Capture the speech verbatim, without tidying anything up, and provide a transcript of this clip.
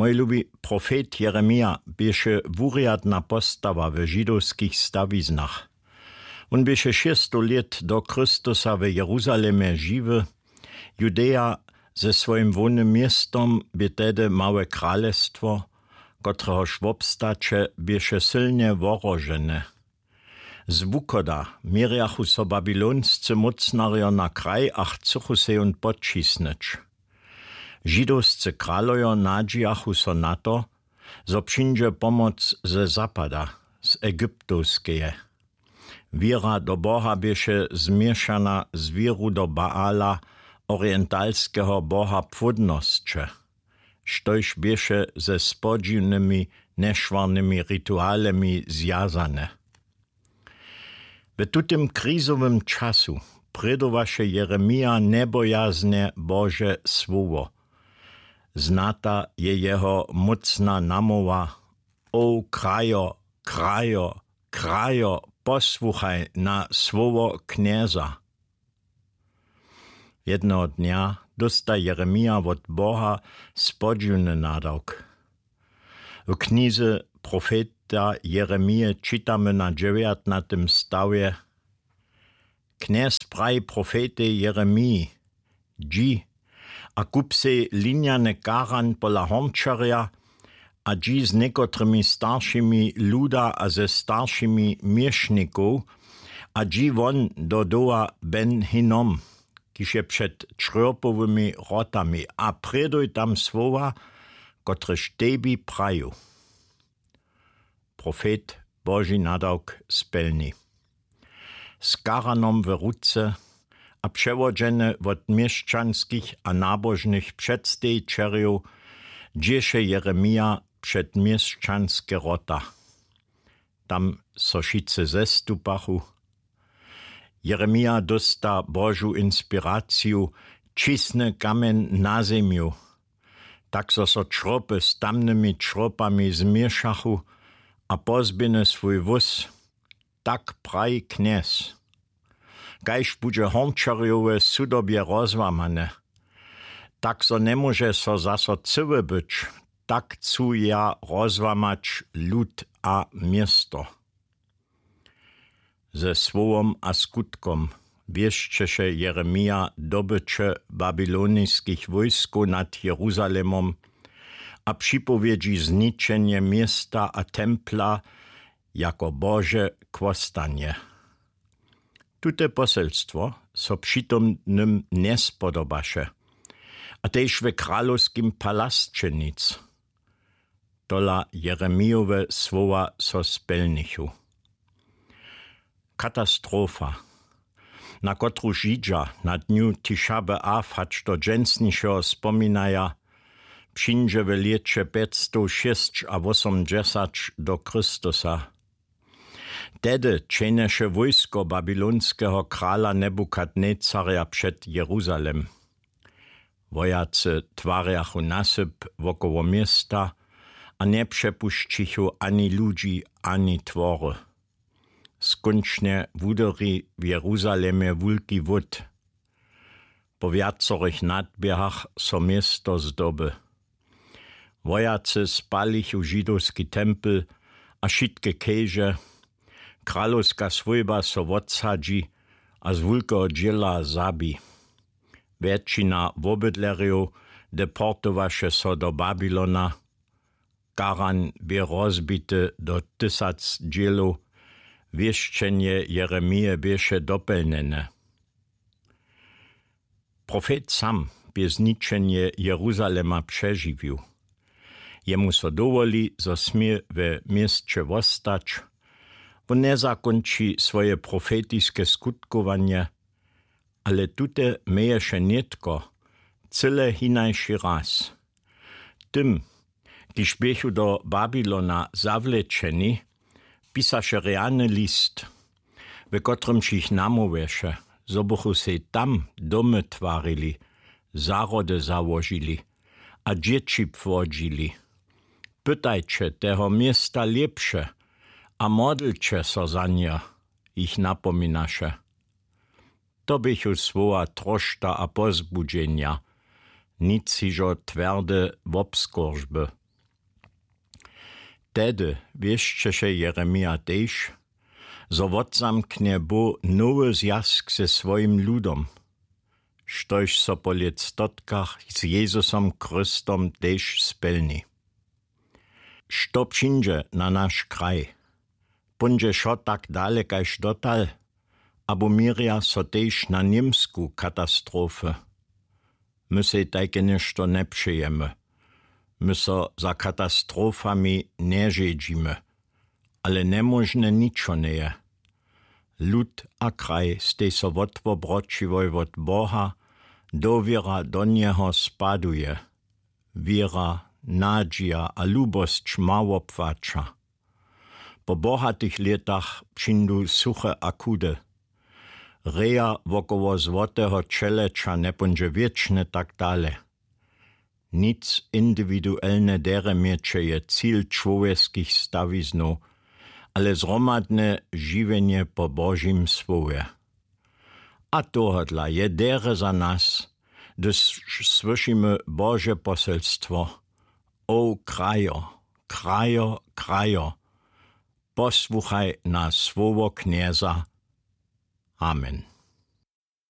Mój lubi, profet Jeremija běše wurjadna postawa w židowskich stawiznach. Wón běše šěststow lět do Chrystusa w Jeruzalemje žiwy. Judeja ze swojim hłownym městom bě tehdy małe kralestwo, kotrehož wobstaće běše sylnje wohrožene. Z wuchoda měrjachu so babylonscy mócnarjo na kraj a chcychu sej wón podćisnyć. Židowscy kralojo nadźijachu so na to, zo přińdźe pomoc ze zapada, z Egyptowskeje. Wěra do Boha běše změšana z wěru do Baala, orientalskeho boha płódnosće, štož běše ze spodźiwnymi, nješwarnymi ritualemi zwjazane. W tutym krizowym času prědowaše Jeremija njebojaznje Bože słowo. Znata je jeho mócna namołwa: „O krajo, krajo, krajo, posłuchaj na słowo Knjeza.” Jedneho dnja dósta Jeremija wot Boha spodźiwny nadawk. W knize profeta Jeremije čitamy na dźewjatnatym stawje: „Knjez praji profetej Jeremiji: Dźi a kup sej linjany karan pola hornčerja a dźi z někotrymi staršimi luda a ze staršimi měšnikow a dźi won do doła Ben Hinnom, kiž je před črjopowymi wrotami, a prěduj tam słowa, kotrež tebi praju.” Profet Boži nadawk spjelni. Z karanom w ruce a přewodźeny wot měšćanskich a nabožnych předstejćerjow dźěše Jeremija před měšćanske wrota. Tam so wšitcy zestupachu. Jeremija dósta Božu inspiraciju: „Ćisny kamjeń na zemju, tak zo so črjopy z tamnymi črjopami změšachu, a pozběhny swój wós, tak praji Knjez. Kaž budźe hornčerjowe sudobje rozłamane, tak zo njemóže so zaso cyły być, tak chcu ja rozłamać lud a město.” Ze słowom a skutkom wěsćeše Jeremija dobyće babyloniskich wójskow nad Jeruzalemom a připowědźi zničenje města a templa jako Bože chłostanje. Tute poselstwo so přitomnym njespodobaše, a tež w kralowskim palasće nic. Tola Jeremijowe słowa so spjelnichu. Katastrofa, na kotruž Židźa na dnju Tiša B'Av hač do dźensnišeho spominaja, přińdźe w lěće pjećstowšěsćawosomdźesać do Chrystusa. Tehdy čehnješe wójsko babylonskeho krala Nebukadnecarja před Jeruzalem. Wojacy twarjachu nasyp wokoło města a njepřepušćichu ani ludźi, ani twory. Skónčnje wudyri w Jeruzalemje wulki wót. Po wjacorych nadběhach so město zdoby. Wojacy spalichu židowski tempel a wšitke keže. Kralowska swójba so wotsadźi a z wulkeho dźěla zabi. Wjetšina wobydlerjow deportowaše so do Babylona. Karan bě rozbity do tysac dźělow. Wěšćenje Jeremije běše dopjelnjene. Profet sam bě zničenje Jeruzalema přežiwił. Jemu so dowoli, zo smě we měsće wostać. Wón njezakónči swoje profetiske skutkowanje, ale tute měješe nětko cyle hinaši raz. Tym, kiž běchu do Babylona zawlečeni, pisaše rjany list, w kotrymž jich namołwješe, zo bychu sej tam domy twarili, zahrody załožili a dźěći płodźili. „Pytajće teho města lěpše a modlće so za nje”, jich napominaše. To běchu słowa trošta a pozbudźenja, nic hižo twjerde wobskóržby. Tehdy wěsćeše Jeremija tež, zo wotzamknje Bóh nowy zwjazk ze swojim ludom, štož so po lětstotkach z Jezusom Chrystom tež spjelni. Što přińdźe na naš kraj? Póńdźe wšo tak dale kaž dotal? Abo měrja so tež na Němsku katastrofy? My sej tajke něšto njepřejemy. My so za katastrofami nježedźimy. Ale njemóžne ničo njeje. Lud a kraj stej so wotwobroćiłoj wot Boha, dowěra do njeho spaduje. Wěra, nadźija a lubosć mało płaća. Po bohatych lětach přińdu suche a chudy. Reja wokoło złoteho ćeleća njepóńdźe wěčne tak dale. Nic indiwiduelne derje měće je cil čłowjeskich stawiznow, ale zhromadne žiwjenje po Božim słowje. A tohodla je derje za nas, hdyž słyšimy Bože poselstwo: O krajo, krajo, krajo, posłuchaj na słowo Knjeza. Amen.